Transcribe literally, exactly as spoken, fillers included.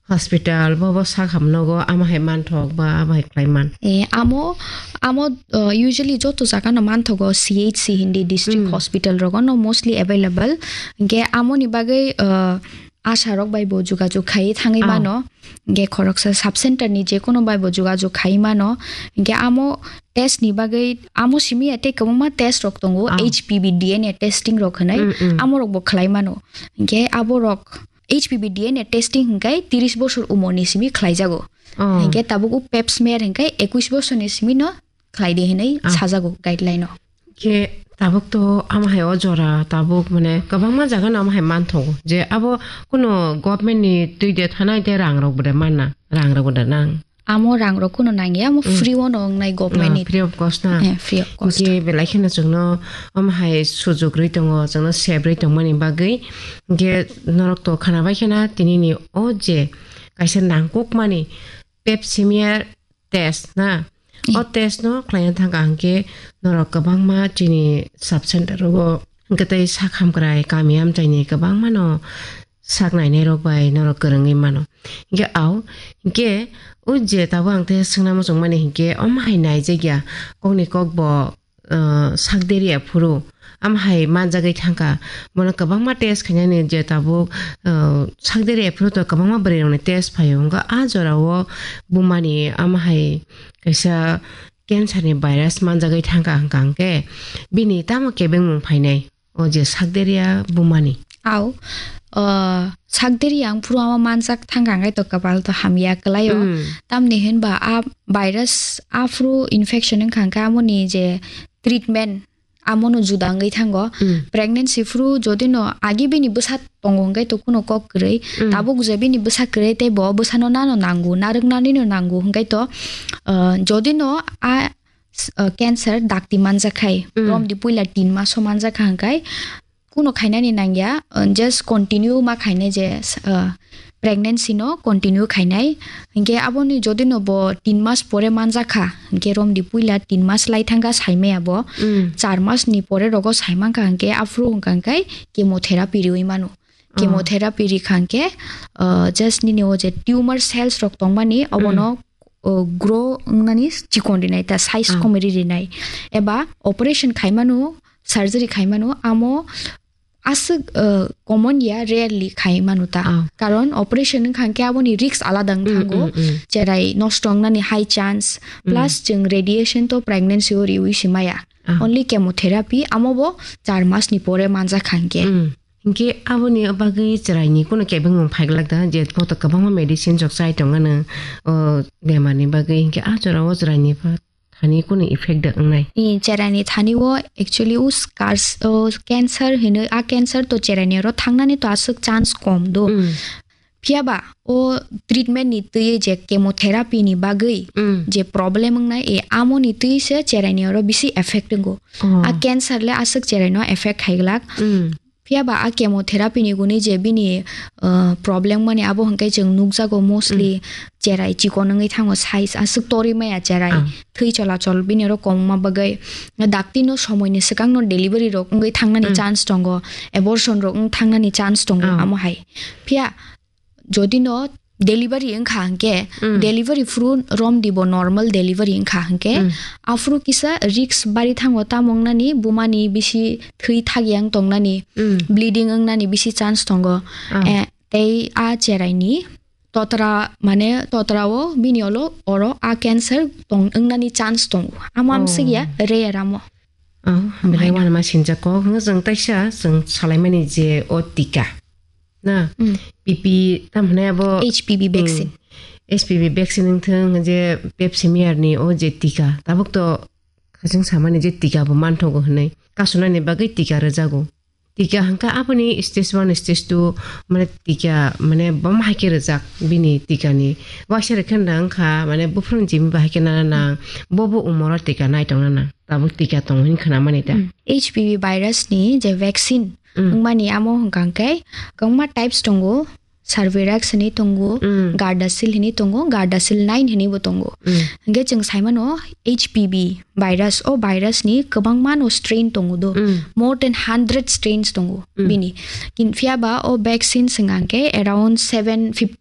hospital, bo, bo sak hamnogo, ama hai manthok ba, ama hai khlai man. Eh, amo, amo, uh, usually joto jaga no manthogo, C H C hindi district Mm. hospital rogo no mostly available. Hingke amo ni bagwi, uh, asha rok bai bo jogajog khai thangwi Ah. mano. Hingke khoroksa sub center ni je kono bai bo jogajog khai mano. Hingke amo test ni bagwi, amo simi ya tei kwbangma test rok tongo, Ah. H P V D N A testing rok hinwi, Mm, mm. amo rok bo khlai mano. Hingke abo rok H P V D N A testing hingke tiris bosor umor ni simi khlai jago. Oh. Hingke tabuk o pap smear hingke ekwis bosor ni simi no khlai di hinwi Ah. sajago guideline o. Khe tabuk to ama hai o jora tabuk mane kwbangma jaga no ama hai manthogo je abo kuno government ni twi de thanai de rang rok bwde manna, rang rok bwde nang. Amo rang rok kuno nangya, amo Mm. free o no wngnai government Ah, ni. Free of cost na. Eh, free of cost. Hingke belai kheno chwngno ama hai sujuk rwi tongo, chwngno sep rwi tongmani bagwi. Hingke norok to khana bai khena tini ni o je kaisa nangkukmani pap smear test na. Eh. O test no khlaina thangka hingke norok kwbangma chini sub center rogo hingke tei sak hamkrai kami amchaini kwbangma no sak nainai rok bai norok kwrwngwi mano. Hingke au, hingke o je tabuk ang tei swngna muchung mani hingke omo hai naijakya kokni kok bo, uh, sak deri aphuru. Am hai manjagwi thangkha. Bono kwbangma test khainani je tabuk, uh, sakderi aphuru to kwbangma bwrwi rokni test phaio. Wngkha a jorao bumani am hai kaisa cancer ni virus manjagwi thangkha hwnkha hwnkhe bini tamo kebengmung phainai o je sakderia bumani. Au, uh, sakderi ang phuru ama manjak thangkha hwnkhe to kwpal to hamya kwlaio. Mm. Tamni hinba a virus aphuru infection wngkha hwnkhe amoni je treatment amono juda wngwi thango. Mm. Pregnancy phuru jodi no agi bini bwsa tongo hwnkhe to kuno kok kwrwi. Mm. Tabuk je bini bwsa kwrwi tei bo bwsano nano nango, narwknani no nango hwnkhe to, uh, jodi no a, uh, cancer dakti manjak khai, Mm. romdi puila tin maso manjak kha hwnkhe kuno khainani nangya, uh, just continue ma khainai je, uh, pregnancy no continue khainai. Hinkhe aboni jodi no bo tin mas pore manjak kha, hinkhe romdi puila tin mas lai thangkha saimaya bo. Mm. Char mas ni pore rogo saimankha hinkhe aphuru hwnkha hinkhe chemotherapy riwi mano. Oh. Chemotherapy rikha hinkhe, uh, just nini o je tumor cells rok tongmani obono, Mm. uh, grow wngnani chikon rinai ta size Oh. komori rinai. Eba operation khaimano, surgery khaimano amo aswk, uh, common ya, rarely khai manu ta. Ah. Karon operation wngkha hwnkhe aboni risk alada wng Mm, thango. Mm, mm. Cherai nosto wngnani high chance, Mm. plus chwng radiation to pregnancy o riwi se maya. Ah. Only chemotherapy, amo bo char mas ni pore manjak kha hwnkhe. Mm. Hwnkhe aboni bagwi chwraini kuno kebengmung phaiglak da, je bo to kwbangma medicine jok chai tongmano, o bemarni bagwi. Hwnkhe a jorao chwraini pha-, thani kunu effect da wngnai? I, cherani thani o actually o scars, o cancer hinwi, a cancer to cherani oro thangnani to aswk chance kom do. Mm. Phiya ba o treatment ni twi je chemotherapy ni bagwi Mm. je problem wngnai, e amo ni twi se cherani oro bisi effect wngo. Oh. A cancer le aswk cherai no effect khaiglak. Mm. Phiya ba a chemotherapy ni guni je bini, uh, problem mani abo hwnkhe chwng nukjago mostly Mm. cherai chikon wngwi thango, size aswk torwi maya cherai. Ah. Thwi cholachol bini oro kwbangma bagwi dakti no somoi ni swkang no delivery rok wngwi thangnani Mm. chance tongo, abortion rok wng thangnani chance tongo Ah. amo hai. Phiya jodi no delivery wngkha hwnkhe, Mm. delivery phuru romdi bo normal delivery wngkha hwnkhe, Mm. aphuru kisa risk bari thango, tamo wngnani bumani bisi thwi thak yang tongnani, Mm. bleeding wngnani bisi chance tongo. Ah. Eh, tei a cherai ni totra, mane totra o bini olo oro a cancer tong wngnani chance tongo. Amo Oh. amsik ya rare amo. Oh, belai Maino. Wanama sinjak kok hwnkhe chwng taisa chwng salaimani je o tika. Na, Mm. P P, tam hwnwi abo, H P V Mm. vaccine. H P V vaccine wngthung, je Pap smear ni o je tika. Tabuk to khaching samani je tika bo manthogo hwnwi. Kasunani bagwi tika rwjago. Tika hwnkha aboni stage one, stage two, mane tika, mane bom hai khe rwjak bini tika ni. Waisa rwkhe nang kha, mane buphuruni jimi bahai khe nana nang, bo bo umoro tika nai tongna nang. Tabuk tika tongo hwnwi khwnamani ta. Mm. H P V virus ni je vaccine Mm. wngmani amo hwnkha hwnkhe kwbangma types tongo, Cervarix hwnwi tongo, Mm. Gardasil hwnwi tongo, Gardasil nine hwnwi bo tongo. Mm. Hwnkhe chwng saimano H P V virus, o virus ni kwbangma no strain tongo do. Mm. More than hundred strains tongo Mm. bini. Kin phiya ba o vaccine hwnkha hwnkhe around seven fifty